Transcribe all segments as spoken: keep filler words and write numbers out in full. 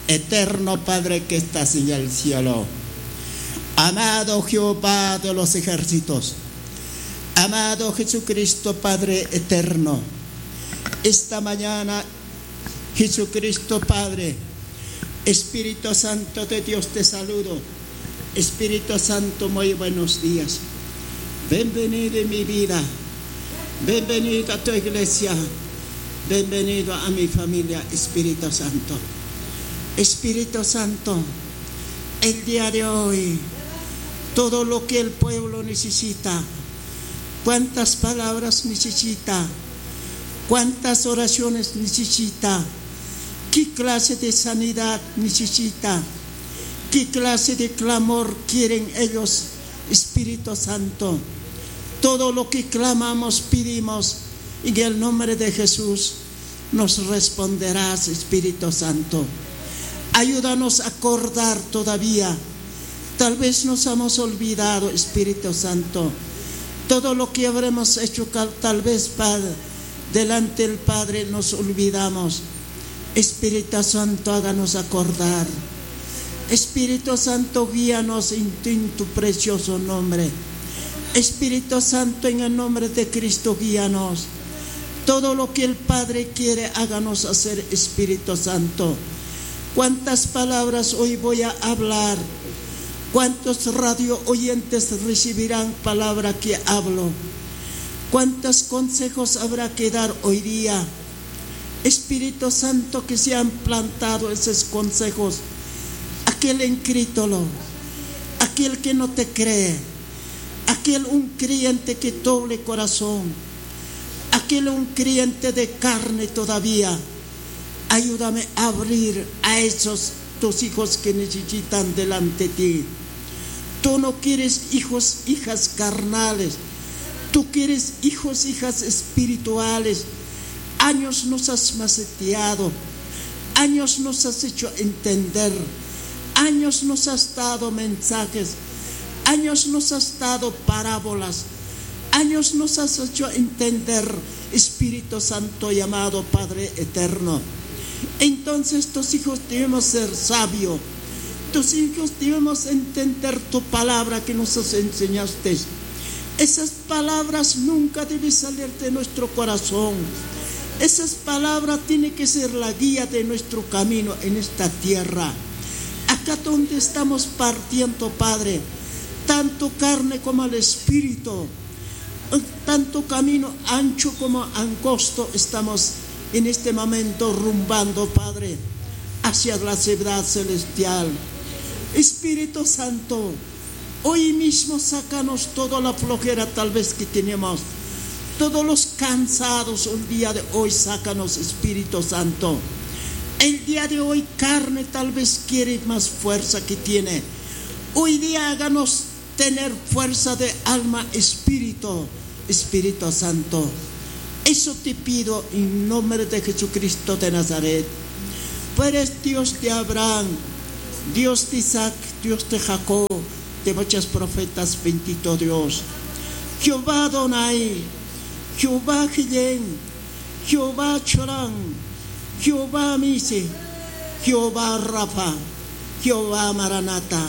Eterno Padre que estás en el cielo, amado Jehová de los ejércitos, amado Jesucristo Padre eterno, esta mañana, Jesucristo Padre, Espíritu Santo de Dios, te saludo. Espíritu Santo, muy buenos días. Bienvenido en mi vida. Bienvenido a tu iglesia. Bienvenido a mi familia, Espíritu Santo. Espíritu Santo, el día de hoy, todo lo que el pueblo necesita, cuántas palabras necesita, cuántas oraciones necesita, qué clase de sanidad necesita, qué clase de clamor quieren ellos, Espíritu Santo. Todo lo que clamamos, pedimos en el nombre de Jesús, nos responderás, Espíritu Santo. Ayúdanos a acordar todavía. Tal vez nos hemos olvidado, Espíritu Santo. Todo lo que habremos hecho, cal- tal vez, Padre, delante del Padre nos olvidamos. Espíritu Santo, háganos acordar. Espíritu Santo, guíanos en, en tu precioso nombre. Espíritu Santo, en el nombre de Cristo, guíanos. Todo lo que el Padre quiere, háganos hacer, Espíritu Santo. Cuántas palabras hoy voy a hablar. Cuántos radio oyentes recibirán palabra que hablo. Cuántos consejos habrá que dar hoy día. Espíritu Santo, que se han plantado esos consejos. Aquel incrédulo, aquel que no te cree, aquel un creyente que doble corazón, aquel un creyente de carne todavía. Ayúdame a abrir a esos tus hijos que necesitan delante de ti. Tú no quieres hijos, hijas carnales. Tú quieres hijos, hijas espirituales. Años nos has maceteado. Años nos has hecho entender. Años nos has dado mensajes. Años nos has dado parábolas. Años nos has hecho entender, Espíritu Santo y amado Padre eterno. Entonces tus hijos debemos ser sabios. Tus hijos debemos entender tu palabra que nos has enseñaste. Esas palabras nunca deben salir de nuestro corazón. Esas palabras tienen que ser la guía de nuestro camino en esta tierra. Acá donde estamos partiendo, Padre, tanto carne como el espíritu, tanto camino ancho como angosto estamos en este momento rumbando, Padre, hacia la ciudad celestial. Espíritu Santo, hoy mismo sácanos toda la flojera tal vez que tenemos, todos los cansados un día de hoy, sácanos, Espíritu Santo. El día de hoy carne tal vez quiere más fuerza que tiene. Hoy día háganos tener fuerza de alma, espíritu, Espíritu Santo. Eso te pido en nombre de Jesucristo de Nazaret. Tú eres Dios de Abraham, Dios de Isaac, Dios de Jacob, de muchos profetas, bendito Dios. Jehová Adonai, Jehová Gilén, Jehová Chorán, Jehová Misi, Jehová Rafa, Jehová Maranata.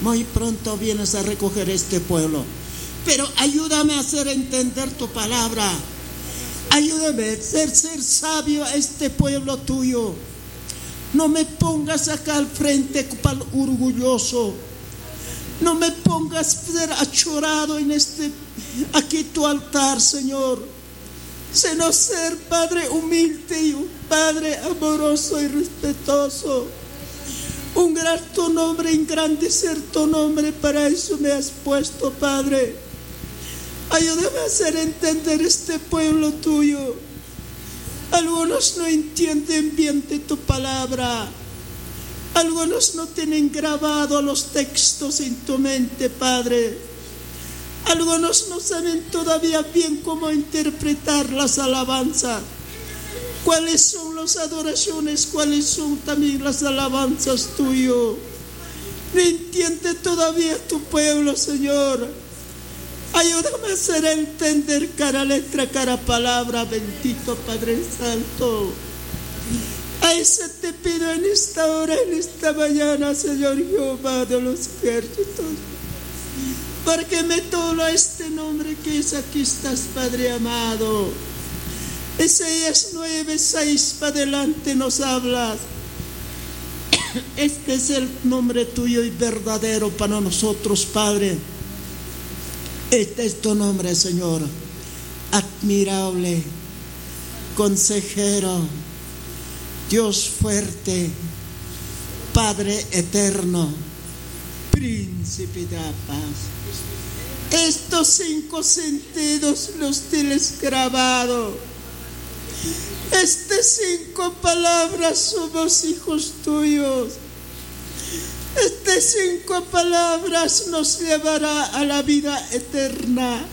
Muy pronto vienes a recoger este pueblo. Pero ayúdame a hacer entender tu palabra. Ayúdame a ser, ser sabio a este pueblo tuyo. No me pongas acá al frente cual orgulloso. No me pongas ser achorado en este, aquí tu altar, Señor. Sino ser Padre humilde y un Padre amoroso y respetuoso. Honrar tu nombre, engrandecer tu nombre, para eso me has puesto, Padre. Ayúdame a hacer entender este pueblo tuyo. Algunos no entienden bien de tu palabra. Algunos no tienen grabado los textos en tu mente, Padre. Algunos no saben todavía bien cómo interpretar las alabanzas. Cuáles son las adoraciones, cuáles son también las alabanzas tuyo. No entiende todavía tu pueblo, Señor. Ayúdame a hacer entender cada letra, cada palabra, bendito Padre Santo. Ay, se te pido en esta hora, en esta mañana, Señor Jehová de los ejércitos, porque me tola este nombre que es aquí estás, Padre amado. Isaías nueve seis para adelante nos hablas. Este es el nombre tuyo y verdadero para nosotros, Padre. Este es tu nombre, Señor. Admirable, consejero, Dios fuerte, Padre eterno, príncipe de la paz. Estos cinco sentidos los tienes grabado. Estas cinco palabras somos hijos tuyos. Estas cinco palabras nos llevará a la vida eterna.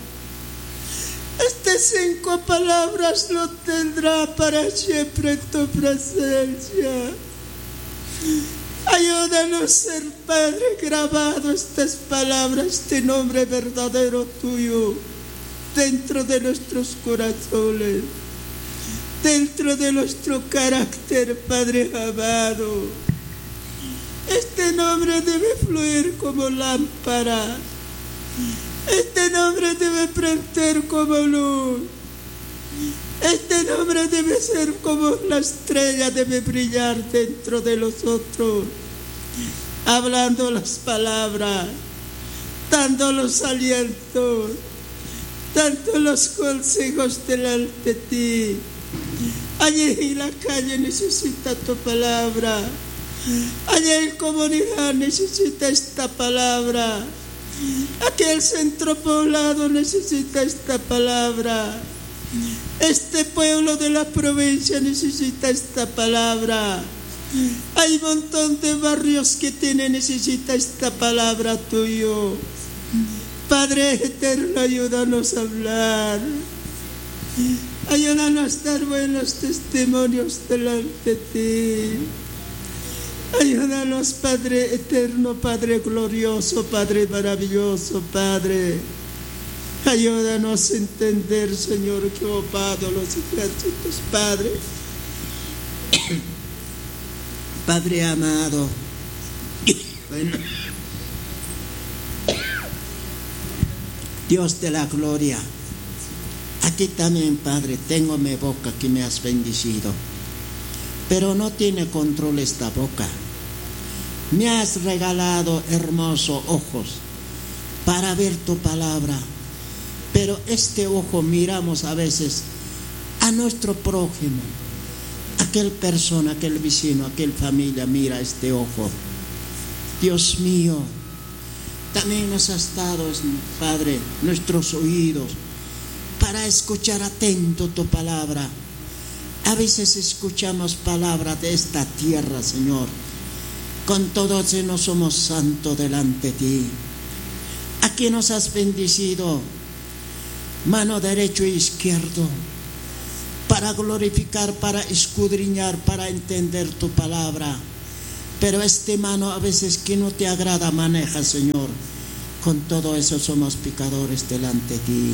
Estas cinco palabras lo tendrá para siempre en tu presencia. Ayúdanos, ser Padre, grabado estas palabras de nombre verdadero tuyo dentro de nuestros corazones, dentro de nuestro carácter, Padre amado. Este nombre debe fluir como lámpara. Este nombre debe prender como luz. Este nombre debe ser como la estrella, debe brillar dentro de nosotros, hablando las palabras, dando los alientos, dando los consejos delante de ti. Allí en la calle necesita tu palabra. Allí en comunidad necesita esta palabra. Aquel centro poblado necesita esta palabra. Este pueblo de la provincia necesita esta palabra. Hay montón de barrios que tiene, necesita esta palabra tuyo. Padre eterno, ayúdanos a hablar. Ayúdanos a dar buenos testimonios delante de ti. Ayúdanos, Padre eterno, Padre glorioso, Padre maravilloso, Padre. Ayúdanos a entender, Señor Jehová de los ejércitos, Padre. Padre amado. Bueno. Dios de la gloria. Aquí también, Padre, tengo mi boca que me has bendecido. Pero no tiene control esta boca. Me has regalado hermosos ojos para ver tu palabra. Pero este ojo miramos a veces a nuestro prójimo. Aquel persona, aquel vecino, aquel familia mira este ojo. Dios mío, también nos has dado, Padre, nuestros oídos para escuchar atento tu palabra. A veces escuchamos palabra de esta tierra, Señor. Con todo eso no somos santo delante de ti. Aquí nos has bendecido, mano derecho e izquierdo, para glorificar, para escudriñar, para entender tu palabra. Pero este mano a veces que no te agrada maneja, Señor. Con todo eso somos pecadores delante de ti.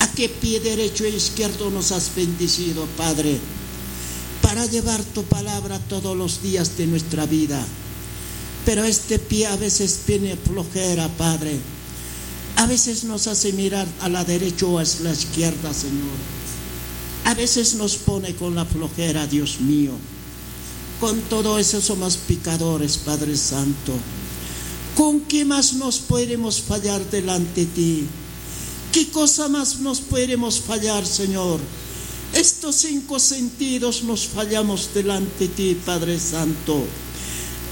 A qué pie derecho e izquierdo nos has bendecido, Padre, para llevar tu palabra todos los días de nuestra vida. Pero este pie a veces tiene flojera, Padre. A veces nos hace mirar a la derecha o a la izquierda, Señor. A veces nos pone con la flojera, Dios mío. Con todo eso somos pecadores, Padre Santo. ¿Con qué más nos podremos fallar delante de ti? ¿Qué cosa más nos podremos fallar, Señor? Estos cinco sentidos nos fallamos delante de ti, Padre Santo.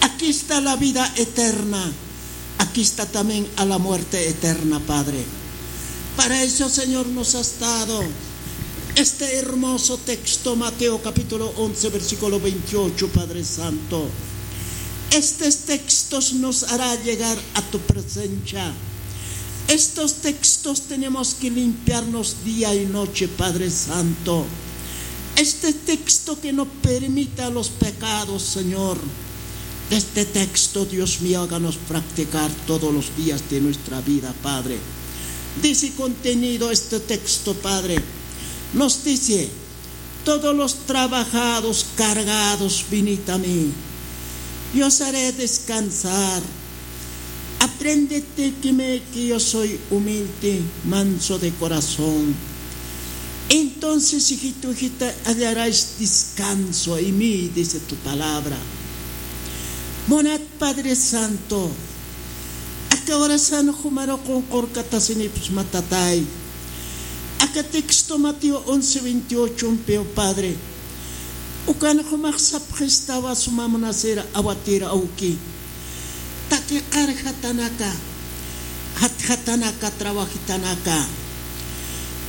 Aquí está la vida eterna. Aquí está también a la muerte eterna, Padre. Para eso, Señor, nos has dado este hermoso texto, Mateo capítulo once, versículo veintiocho, Padre Santo. Estos textos nos hará llegar a tu presencia. Estos textos tenemos que limpiarnos día y noche, Padre Santo. Este texto que no permita los pecados, Señor. Este texto, Dios mío, háganos practicar todos los días de nuestra vida, Padre. Dice contenido este texto, Padre. Nos dice, Todos los trabajados, cargados, venid a mí. Yo os haré descansar. Aprended de mí, que yo soy humilde, manso de corazón. Entonces, hijito, hijita, hallarás descanso en mí, dice tu palabra. Munat Padre Santo, aka horasan jumaru qunqurkatasinipxsma, tatay. Aka texto Mateo once veintiocho umpiw, Padre. Ukan jumax sapxistawa suma munasir awatir awki. Taqi qarjatanaka, jatjatanaka, trabajitanaka.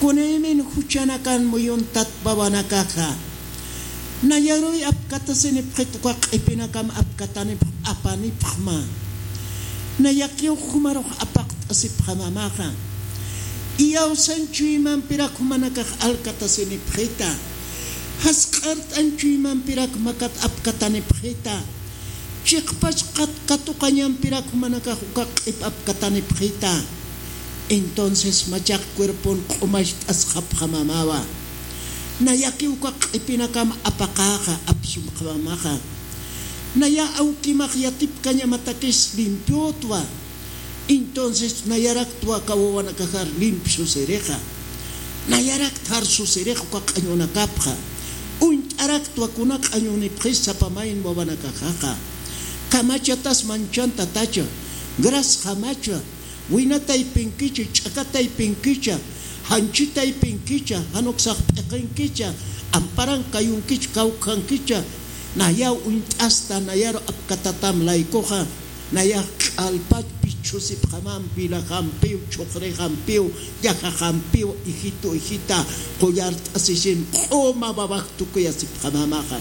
Kunaymin juchanakan muyuntat wawanakaxa. Nayaruy apkatasinipxit uka q'ipinakam apkatanipx apanipxma. Nayakiw jumarux apaqt'asipxamamaxa. Iyawsan chuymampirak jumanakax alkatasinipxita. Jasq'art'an chuymampirak makat apkatanipxita. Chiqpach qat-, katuqañampirak jumanakax uka q'ip apkatanipxita. Entonces machaq cuerpon q'umacht'asxapxamamawa. Nayaki uka q'ipinakam apaqaxa, apsumxamamaxa. Naya awkimax yatipkañamatakis limpiotwa. Entonces nayaraktwa aka wawanakaxar limpio susirixa. Nayarakt jar susirix uka q'añunakapxa. Uñt'araktwa kuna q'añunipxis sapamayn wawanakaxaxa. Kamachatas manchan tatacha, grasjamacha, wina taypinkicha, ch'aka taypinkicha, janchi taypinkicha, jan uksax p'iqinkicha, amparan kayunkicha, kawkhankicha, nayaw uñt'asta, nayaru apkatatam laykuxa. Nayax q'alpat pichhusipxamam, vilajampiw, chhuqrijampiw, llajaxampiw, hijito, hijita, qullart'asisin, q'uma wawax tukuyasipxamamaxa.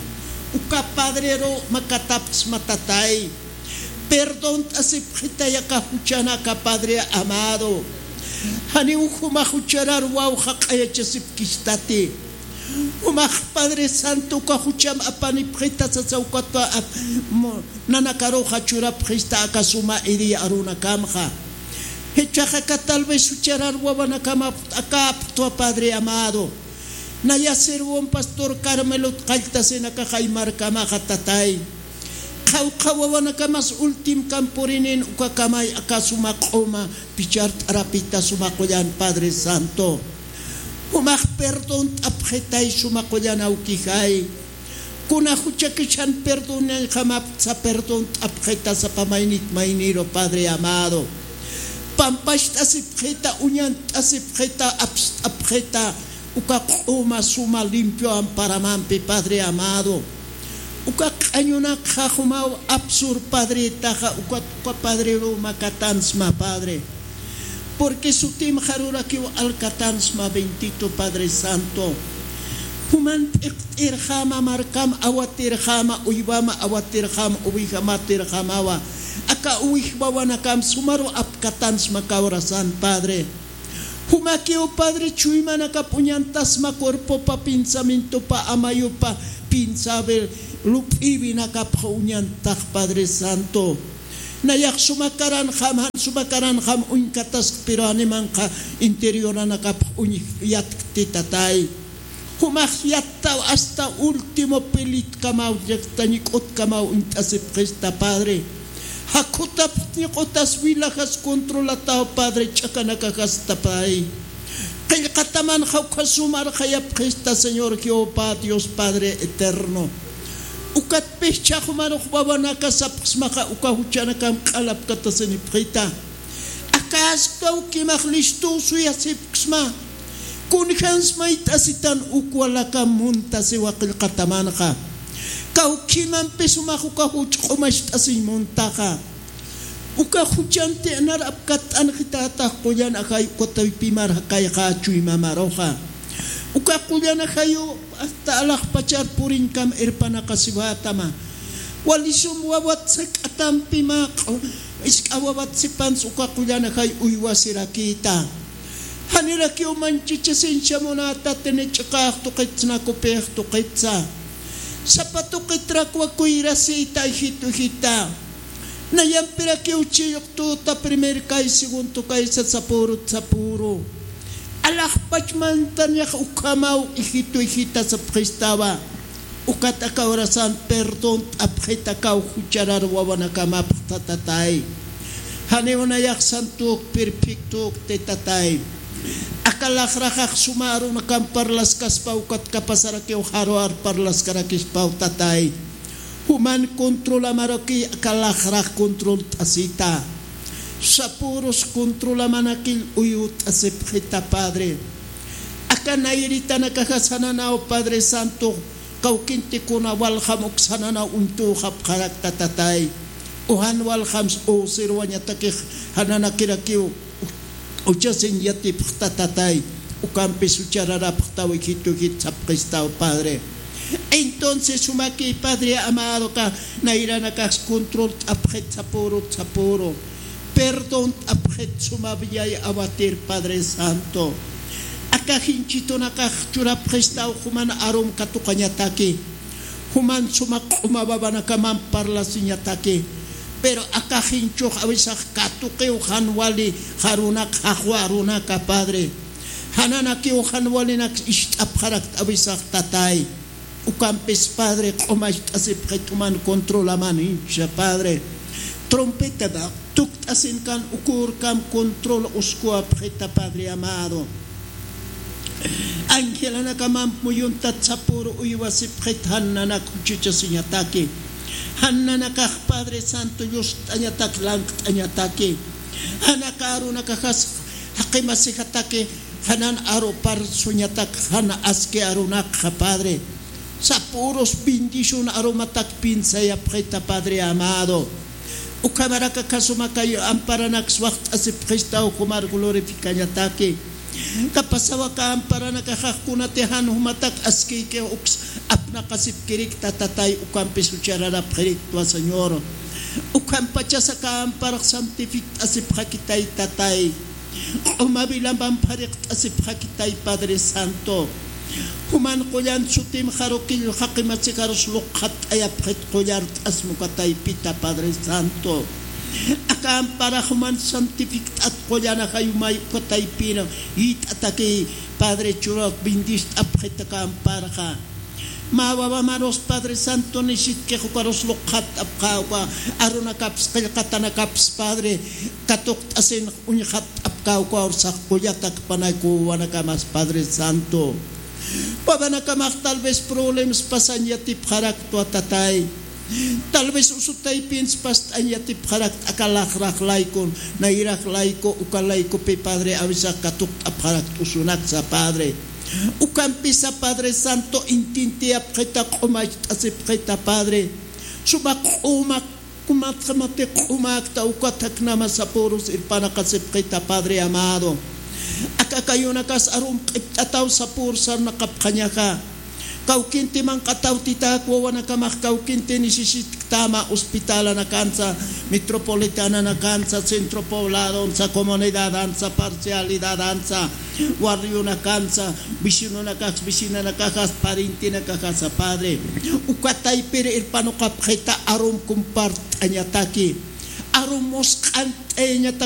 Uka padreru makatapxsma, tatay. Perdont'asipxitay aka juchanaka, Padre amado. Janiw juma jucharar wawxa q'ayachasipkistati. Jumax Padre Santo uka jucham apanipxita sasa ukatwa ap-, mo-, nanakaruxa churapxista aka suma iri arunakamxa. Jichhax aka tal vez jucharar wawanakam ap-, aka aptwa, Padre amado. Naya sirvon pastor Carmelot qalltasinakax ay markamaxa, tatay. Qhawqha wawanakamas ultimkam purinin ukakamay aka suma q'uma pichart'arapita suma qullan, Padre Santo. Jumax perdont'apxitay suma qullan awkixay. Kuna juchakichan perdonañjamaptsa perdont'apxita sapa maynit mayniru, Padre amado. Pampacht'asipxita, uñant'asipxita, apst'apxita, uka q'uma suma limpio amparamampi, Padre amado. Uka q'añunakxa jumaw apsur padretaxa, uka, uka padreru makatansma, Padre. Porque sutim jarurakiw alkatansma, bendito Padre Santo. Juman p'iqt'irjama, markam awatirjama, uywama awatirjama, uwijamatirjamawa. Aka uwij wawanakam sumaru apkatansma kawrasan, Padre. Jumakiw, Padre, chuymanakap uñantasma cuerpopa, pensamientopa, amayupa, pinsabe, lup'iwinakapxa uñantax, Padre Santo. Nayax suma karanxam, jan suma karanxam uñkatask, pero animanxa interioranankapx uñj yatkti, tatay. Jumax yattaw hasta último pelitkamaw, llaqtañik'utkamaw uñt'asipxista, Padre. Jakhutapxtñik'utas, wilajas controlataw, Padre, ch'akanakaxasta, Padre. Qillqatamanxa ukha sumar jayapxista, Señor Jehová, Dios Padre eterno. Ukat pixcha jumarux wawanaka sapxsmaxa, uka juchanakam q'alapkatasinipxita. Akasktaw kimax listuw suyasipksma. Kunjans mayt'asitan uk walakam muntasiwa qillqatamanxa. Kawkimampi sumax uka juch q'umacht'asiñ muntaxa. Uka juchanti nar apkatt'anxitätax qullan ajay, uka taypimar jakayxa chuymamaruxa. Uka qullan ajayu hasta alaxpachar puriñkam irpanaqasiwätama. Walisum wawat sak'atampima, q'u-, isk'a wawat sipans uka qullan ajay uywasirakïta. Janirakiw manchichasincha munätatini, ch'iqax tuqitsna, kupix tuqitsa. Sapa tuqitrakwa kuyrasïta, hijito, hijita. Nayampirakiw chillqtüta, primer kay, segundo kay, sasapürut sapüru. Alaxpach mantañax ukhamaw, hijitu, hijita sapxistawa. Ukat aka horasan perdón t'apxit akaw jucharar wawanakamapxta tatay. Janiw nayax santuk, perfectuk te tatay. Aka laxraxax suma arunakam parlaskaspa, ukat kapasarakiw jaruar parlaskarakispaw tatay. Juman controlamaraki aka laxrax controlt'asita. Sapürus controlamanakil uyut'asipxita, Padre. Aka nayritanakaxa sananaw, Padre Santo, kawkintikuna waljam uk sananaw uñtüxapxarakta tatay. Ujan waljams usirwañatakix jananakirakiw uchasiñ yatipxta tatay, ukampis uchararapxtaw, hijitu, hijit sapxistaw, Padre. Entonces sumaki, Padre amado, aka nayranakax controlt'apxit sapürut sapüru. Perdont'apxit suma villay awatir, Padre Santo. Aka jinchitunakax churapxistaw juman arum katuqañataki. Juman suma q'uma wawanakaman parlasiñataki. Pero aka jinchux awisax katuqiw jan wali jarunak, jaxwa arunaka, Padre. Jananakiw jan walinak ist'apxarakt awisax tatay. Ukampis, Padre, q'umacht'asipxit juman controlamanïncha, Padre. Trompetata tukt'asinkan ukürkam control uskuwapxita, Padre amado. Angelanakamamp muyuntat sapüru uywasipxit, jan nanak uchuchasiñataki. Jan nanakax, Padre Santo, llust'añatak, lankt'añataki. Jan aka arunakaxas jaqimasijataki, janan arupar suñatak, jan aski arunakxa, Padre. Sapürus bendición arumatak piensayapxita, Padre amado. Ukhamarak aka suma kay amparanaks waxt'asipxistaw jumar glorificañataki. Kapasaw aka amparanakaxax kunati jan jumatak askïki uks apnaqasipkirikta tatay, ukampis uchararapxiriktwa, Señor. Ukhampachas aka amparax santifikt'asipxakitay tatay. Q'uma vilamamp jariqt'asipxakitay, Padre Santo. Juman qullan sutim jarukill jaqimasikarus luqxatt'ayapxit qullart'asma uka taypita, Padre Santo. Aka amparax juman santifikt'at qullan ajayumay uka taypina yït'atakiy, Padre, churat bendist'apxit aka amparxa. Mä wawamarus, Padre Santo, nisitkix ukarus luqxatt'apxä, uka arunakaps qillqatanakaps, Padre, katuqt'asin uñxatt'apxä, uka ursax qullatakpanay uka wawanakamas, Padre Santo. Wawanakamax tal vez problemas pasañ yatipxaraktwa, tatay. Tal vez usu taypinsa past'añ yatipxarakt aka laxrax laykun, nayrax layku, uka laykupi, Padre, awisax katuqt'apxarakt usunaksa, Padre. Ukampisa, Padre Santo, intintiyapxita, q'umacht'asipxita, Padre. Suma q'uma, kumatxamati q'umakta, ukat jaknama sapürus irpanaqasipxita, Padre amado. Aka kayunakas arum q'ipt'ataw sapür sarnaqapxañaxa. Kawkinti manq'ataw titak wawanakamax kawkinti necesitktäma hospitalanakansa, metropolitananakansa, centro pobladonsa, comunidadansa, parcialidadansa, barrionakansa, vecinonakax, vecinanakaxas, parientenakaxasa, Padre. Uka taypir irpanuqapxita arum compart'añataki. Arum musq'ant'ayañatak